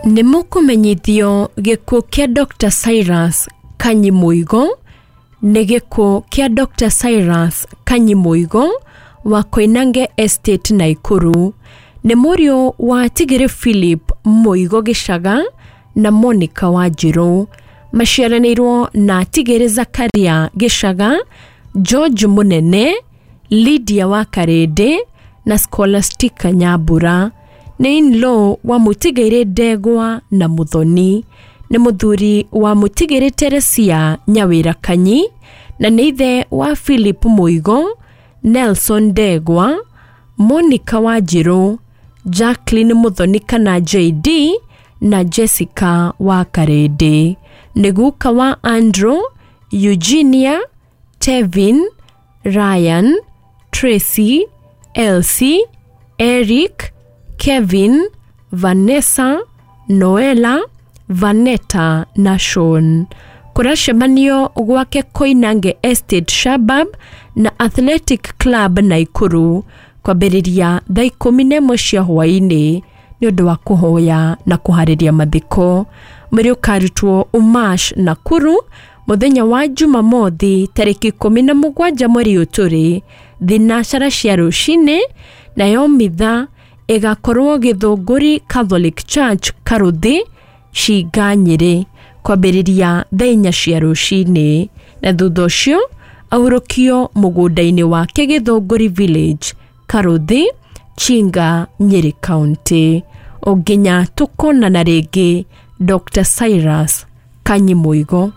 Nĩ mũkũmenyithio gĩkuũ kĩa Dr. Cyrus Kanyi Mũigo. Nĩ gĩkuũ kĩa Dr. Cyrus Kanyi Mũigo wa Koinange Estate, Naikuru. Nĩ mũriũ wa Tigĩrĩ Philip Mũigo Gĩcaga na Monica Wanjirũ. Maciaranĩirwo na Tigĩrĩ Zakaria Gĩcaga, George Mũnene, Lydia wa Karĩndĩ na Scholastica Nyambura. Nĩ in-law wa Mũtigairĩ Ndegwa na Mũthoni. Nĩ mũthuri wa Mũtigairĩ Teresia Nyawĩra Kanyi na nĩ ithe wa Philip Mũigo, Nelson Ndegwa, Monica Wanjirũ, Jacqueline Mũthoni kana JD na Jessica wa Karĩndĩ. Nĩ guka wa Andrew, Eugenia, Tevin, Ryan, Tracy, Elsie, Eric, Kevin, Vanessa, Noela, Vanetta na Sean. Kũracemanio gwake Koinange Estate Shabab na Athletic Club Naikuru kwambĩrĩria thaa 11 cia hwaĩ-inĩ nĩ ũndũ wa kũhoya na kũharĩria mathiko. Mwĩrĩ ũkarutwo Umash Nakuru mũthenya wa Jumamothi tarĩki 17 mweri ũyũ tũrĩ thinacara cia rũcinĩ, nayo mitha ĩgakorwo Gĩthũngũri Catholic Church, Karũthi, Cinga, Nyĩrĩ kwambĩrĩria thaa 4 cia rũcinĩ, na thutha ũcio ahurũkio mũgũnda-inĩ wake Gĩthũngũri Village, Karũthi, Chinga, Nyĩrĩ County. O nginya tũkonana rĩngĩ, Dr. Cyrus Kanyi Mũigo.